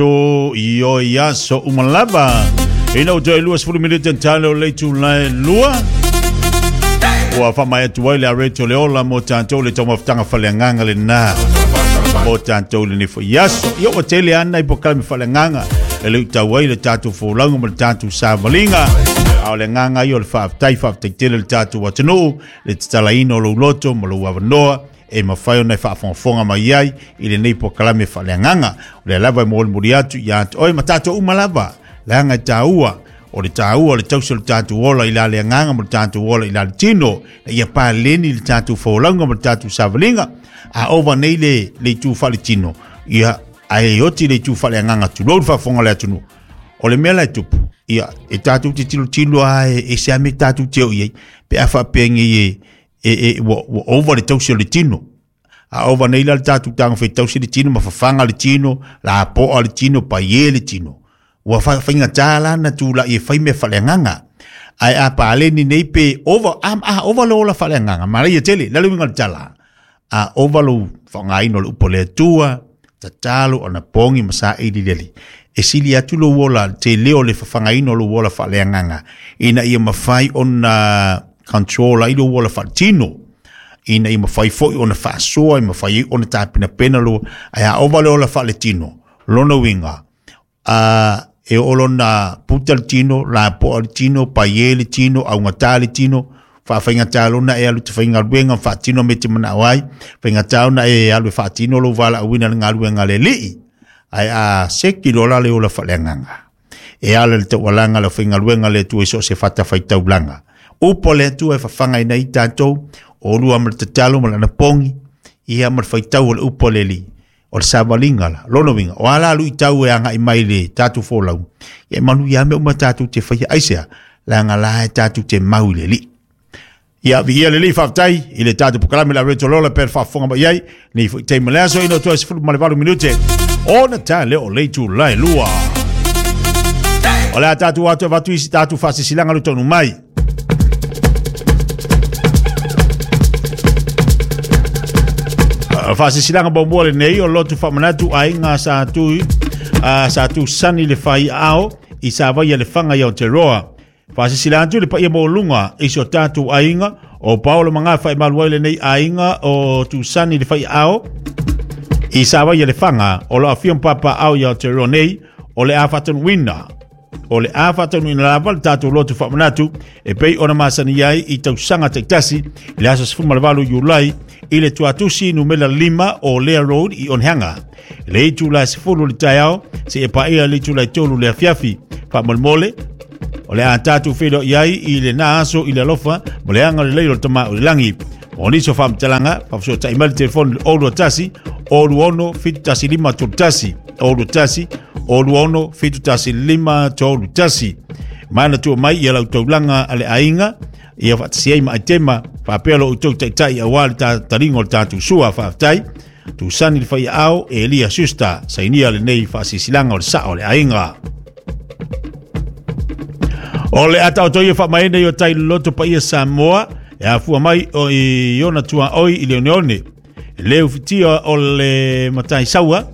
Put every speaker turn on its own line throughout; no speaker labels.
To io ia so uma lava. Ina o toe 20 minute tale o le itula e 2. Ua faamaea atu ai le areto le ola mo tatou le taumafataga faaleagaga lena. Mo tatou lenei foi aso. Ia ua tele ana i polokalame faaleagaga e le tau ai le tatou folauga ma le tatou savaliga. A o le agaga ia o le faafetai, faafetai tele le tatou atunuu, le tatalaina o lou loto ma lou avanoa e mafai ona e faafogafoga mai ai i lenei polokalame faaleagaga. O lea lava e molimoli atu ia te oe ma tatou uma lava, leaga e taua, o le taua o le tausi o le tatou ola i la le agaga ma le tatou ola i la le tino, ina ia paleni le tatou folauga ma le tatou savaliga. A ova nei le itu faaletino, ia, ae oti le itu faaleagaga, tulou le faafofoga a le atunuu. O le mea la e tupu, ia, e tatou te tilotilo lava e ese lava mea tatou te o i ai, pe a faapea nei e ua ova le tausi o le tino. A ova nei la le tatou taga fai tausi le tino ma fafaga le tino, lapoa le tino, paie le tino. Ua faigata la na tula'i e fai mea faaleagaga. Ae a paleni nei pe ova, a ova le ola faaleagaga, manaia tele, le uiga o le tala. A ova lou faaaogaina o le upu a le Atua, tatalo, anapogi ma saili le Alii. E sili atu lou ola, tele o le fafagaina o lou ola faaleagaga, ina ia mafai ona control ai lou ola faaletino, ina ia mafai foi ona faasoa, e mafai ai ona tapenapena lou, ae a ova le ola faaletino, lona uiga, e oo lona puta le tino, lapoa le tino, paie le tino, augata le tino, faafaigata lona e alu te faigaluega, faatino me te manao ai, faigata ona e alu e faatino lou valaauina le galuega a le Alii, ae a seki loa la le ola faaleagaga. E ala le taualaga le faigaluega le Atua i so o se fatafaitaulaga. Upu a le Atua e fafagaina ai tatou, o lua ma le tatalo ma le anapogi, ia ma le faitau o le upu a le Alii. O le savaliga la, lona uiga, o a la luitau e agai mai le tatou folau, ia e manuia lava mea uma tatou te faia. Aisea? Leaga la e tatou te mau i le Alii. Ia, viia le Alii, faafetai i le tatou polokalame le Areto Lola pe faafofoga mai ai nei foi taimi le aso ina toe 18 minute ona ta le o le itula e 2. O le a tatou atu e avatu isi tatou faasisilaga le taunuu mai. Faasisilaga muamua lenei o lotu faamanatu aiga sa tu sa tusani le faiaao i Savaia le Faga i Aotearoa. Faasisila atu le paia maualuga i si o tatou aiga o Paolo Magafa e malu ai lenei aiga o Tusani le faiaao i Savaia le Faga o lo afio ma papaao i Aotearoa nei o le a faatanuuina o le a faataunuuina lava le tatou lotu faamanatu e pei ona masani ai i tausaga taitasi i le aso 18 Iulai i le tuatusi numera 5 o Lea Road i Onehanga. Le itula e 10 le taeao seia paia le itula e 3 le afiafi. Faamolemole, o le a tatou feiloai ai i lena aso i le alofa ma le agalelei o le Tama o le Lagi. Mo nisi o faamatalaga, faafesootai mai le telefoni i le 021 26 71 5 31. 021 26 71 5 31. Manatua mai ia lau taulaga a le aiga, ia faatasi ai ma aitema, faapea lo outou taitai aua le taliga o le tatou sua. Faafetai. Tusani le faiaao, Elia Schuster, sainia lenei faasisilanga o le sao o le aiga. O le ata o toia faamaene i o tai loto paia Samoa, e afua mai o i ona tuaoi i le oneone. E le ufitia o le matai saua,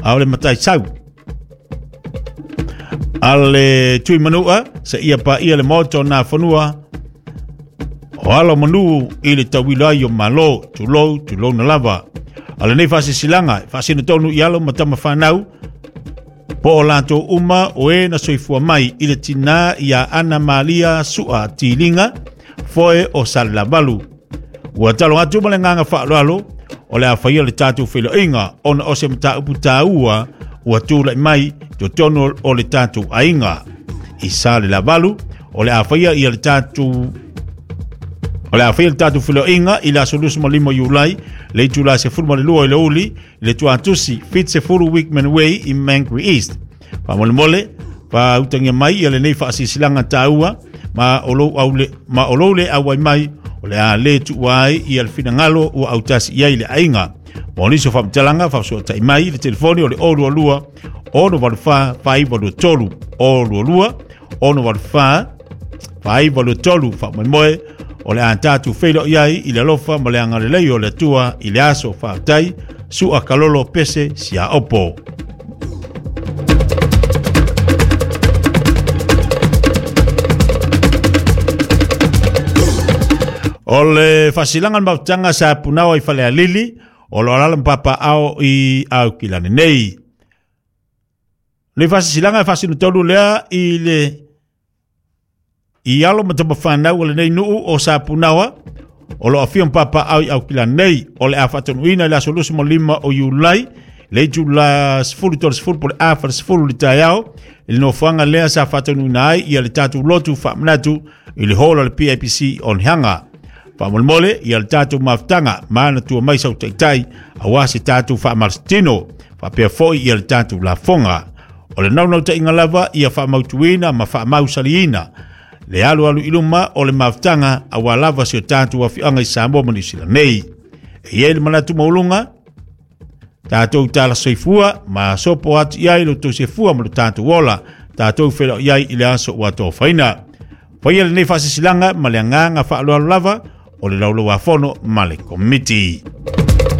a o le matai sau. A le tui manua, se ia pa ia le maota o nā whanua, o alo manu i le tauilo ai o malo, tulou, tulou na lava. A lenei faasisilaga, e faasino tonu i alo ma tama whanau, po o latou uma o e na soifua mai i le tinā ia Ana Malia Sua Tiliga, foe o Salelavalu. Ua talo atu ma le agaga faaaloalo, o le a faia le tatou feiloaiga ona o se mataupu taua ua tulai mai i totonu o le tatou aiga. I Salelavalu, o le a faia ia le tatou O le a faia le tatou feiloaiga i le aso 25 Iulai, le itula 12 i le uli, le tuatusi 70 Wickman Way i Mangere East. Faamolemole, faautagia mai ia lenei faasisilanga taua ma o lou aule, ma o lou le auai mai, o le a le tuua ai ia le finagalo ua autasi i ai le aiga. Mo nisi o faamatalaga, faafesootai mai i le telefoni o le 022 684 4923 022 684 4923. Faamoemoe, o le a tatou feiloai ai i le alofa ma le agalelei o le Atua i le aso. Faafetai, Sua Kalolo Pese Siaopo. O le faasilaga o le mafutaga sa punao i Falealili, o lo alala ma papaao i Aukilani nei. Le faasisilaga e faasinotonu lea i le i alo ma tamafanau o lenei nuu o Sapunaoa o lo afio ma papaao i Aukilani nei. O le a faatonuina i le aso 25 o Iulai, le itula 13:30 po le a 40 le taeao, i le nofoaga lea sa faatonuina ai ia le tatou lotu faamanatu i le hall o le PIPC o Nihaga. Faamolemole ia le tatou mafutaga manatua mai sau taitai aua se tatou faamalositino, faapea foi ia le tatou lafoga. O le naunautaiga lava ia faamautuina ma faamausaliina le alualu i luma o le mafutaga aua lava si o tatou afioaga i Samoa ma Niu Sila nei. E i ai le manatu maualuga, tatou tala soifua ma sopo atu i ai lo tou sefua ma lo tatou ola, tatou feiloai ai i le aso ua tofaina. Faia lenei faasisilaga ma le agaga faaaloalo lava o le laulauafono ma le komiti.